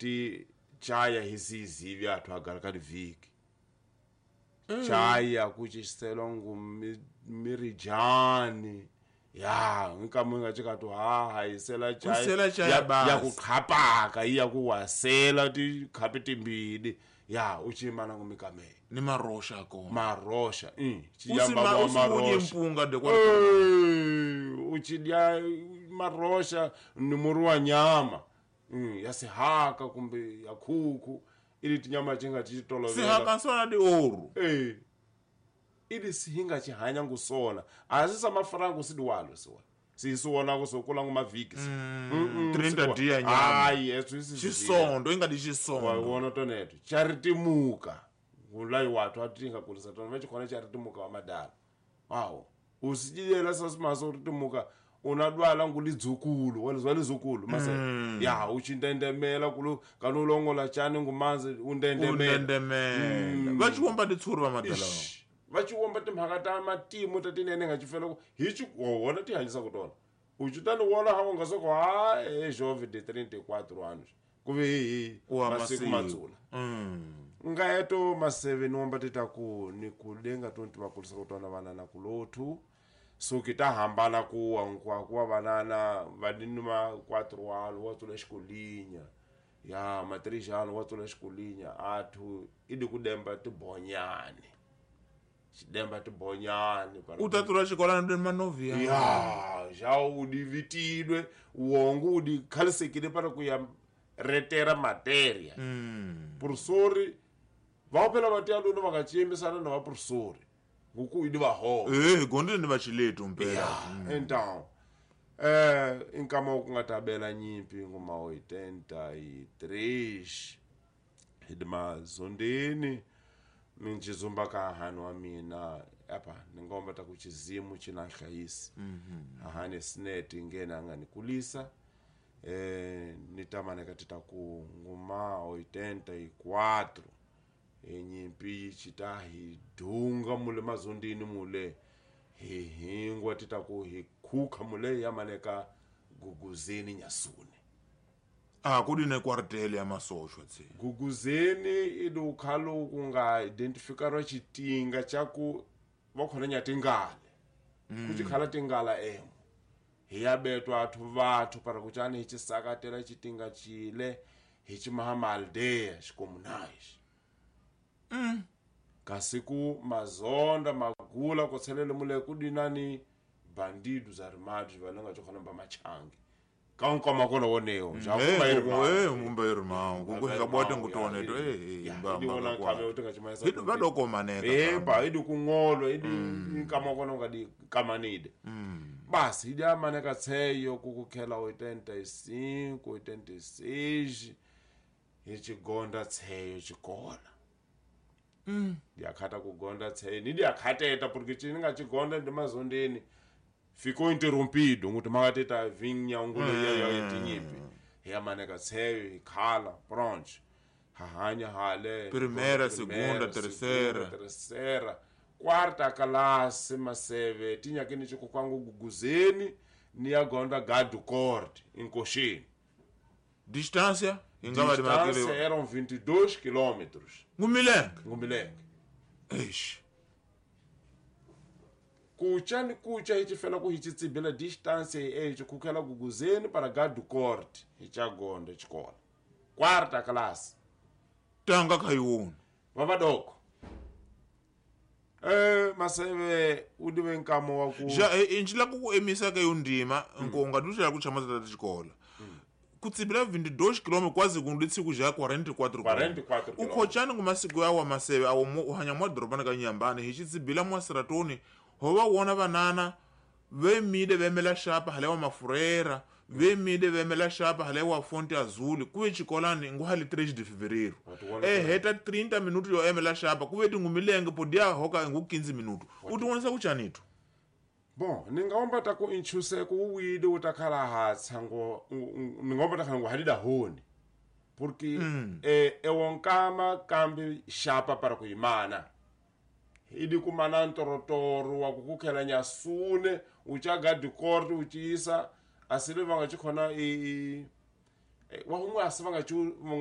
Ngati chaya hisizivi athu agara kadi vhiki. Chaya kuchiselwa ngu mirijani. Ya, nkamu nga chikatu ha haisela chaya. Kusela chaya basi. Ya kukhapaka, iya kuwasela ti khapi timbili. Ya, uchimana ngumikamela. Ni marosha kona. Marosha. Usima usimudye mpunga de kwa. Uchidya marosha ni muru wa nyama. Ya sihaka kumbe ya khuku. Ili tinyama chinga tichitolovela. Sihaka sona di oru. Ili sihinga chihanya ngusona. Asisa mafarangu sidiwalo siwa. Sisiwona kusokula ngumavhiki. 30 dia nyama. Ai, yesu isi. Chisondo ingadi chisondo. Wona toneto. Charitimuka. Ngulai watu atinga kulisa tona vachikona charitimuka wa madala. Wow. Usijiyela sasimaso ritimuka. Unadwala ngulidzukulu, walizwa lizukulu mase. Ya uchindendemela kulu kanulongola chani ngumanzi undendemela. Undendemela. Vachiwomba titsuri va madala. Vachiwomba timhaka ta matimu tatinene nga chifela hi wona tihanyisa kutona. Uchitani wona hawo ngasoko ha jove de 34 anos. Kuve hi masiku madzula. Ngaeto maseve niwomba titaku ni kudenga tonti vakulisa kutona vana na kulothu. So kita hambana kuwa nkwa kuwa banana vadinuma 4 anos watsula xikolinya. Ya ma 3 anos watsula xikolinya athu idi kudemba tibonyane. Xidemba tibonyane utatura xikolana ndi manovia. Ya ja udivitidwe wongo udikhalisekile para kuya retera materia. Professori vaphela vatiya lona vakachiyemisana na vaprofessori nguku idi vaho. Gonde ndi vachiletu mpela. Então inkama kungatabela nyimpi ngoma 83 hidimazondeni minjizumba ka hanu wa mina apa ningomba ta kuchizimu china hlayisi. Ahane sneti ngena nganikulisa nitamane katita ku ngoma 84 enyimpi chita hidunga mule mazondini mule hihingwa tita ku hikhuka mule yamaneka guguzeni nyasune. Kudine quartel ya masoshwa tse. Guguzeni idukhalo kunga identifikarwa chitinga chaku vakhona nyatingale. Kuchikhala tingala emo. Hiyabetwa athu vathu para kuchani hichisakatela chitinga chile hichimahamaldea xikomunais. Kasiku mazonda magula kotselele mule kudinani bandidos armados valanga chokhona ba machangi. Kankoma kona woneo ja mumba irmão kukuheka bwate ngutone to idiona kabe utinga chimaisa idi vadokomaneka ba idi kungolo idi nkama kona ngadi kamanide. Basi idi amaneka tseyo kukukhela 85 86 ichigonda tseyo chikola. Ndiyakhata kugonda tseyo nidiyakhateta porque chininga chigonda ndimazondeni ficou interrompido nguti makateta vinha ngule ya yetinyipi yamaneka tseyo ikhala pronto hahanya hale primeira segunda terceira quarta classe maseve tinya kini chikukwangu guguzeni niyagonda gadu corte enkoxeni. Distância ingaba distância eram 22 quilômetros. Ngumilenge. Eish. Kucha ni kucha hichifela ku hichitsibela distância echo kukhela guguzeni para gadu corte hichagonda chikola quarta classe tanga khayona vavadoko. Maseve udiwe nkamo wa ku ja injila ku emisa ke yondima nkonga dushela ku chama tata chikola. Kutsibila 22 km kwazi kunditsi kuja 44 km. Ukhochani ngumasiku yawa maseve awo uhanya mwa dorobana ka Nyambane hichitsibila mwa Seratoni hova wona vanana vemide vemela shapa halewa mafurera vemide vemela shapa halewa Fonte Azul kuve chikolani nguhali 3 de fevereiro heta 30 minutos yo emela shapa kuve tingumilenge podia hoka ngu 15 minutos utiwonesa kuchanito. Bon, ningaomba ta ku inchuse ku wide utakhala hatsa ngo ningaomba ta ngo halida honi porque ewonkama kambi shapa para kuimana idi kumana ntorotoro wa kukukhela nyasune uchaga dikorti uchiisa asile vanga chikhona wa humwe asivanga chu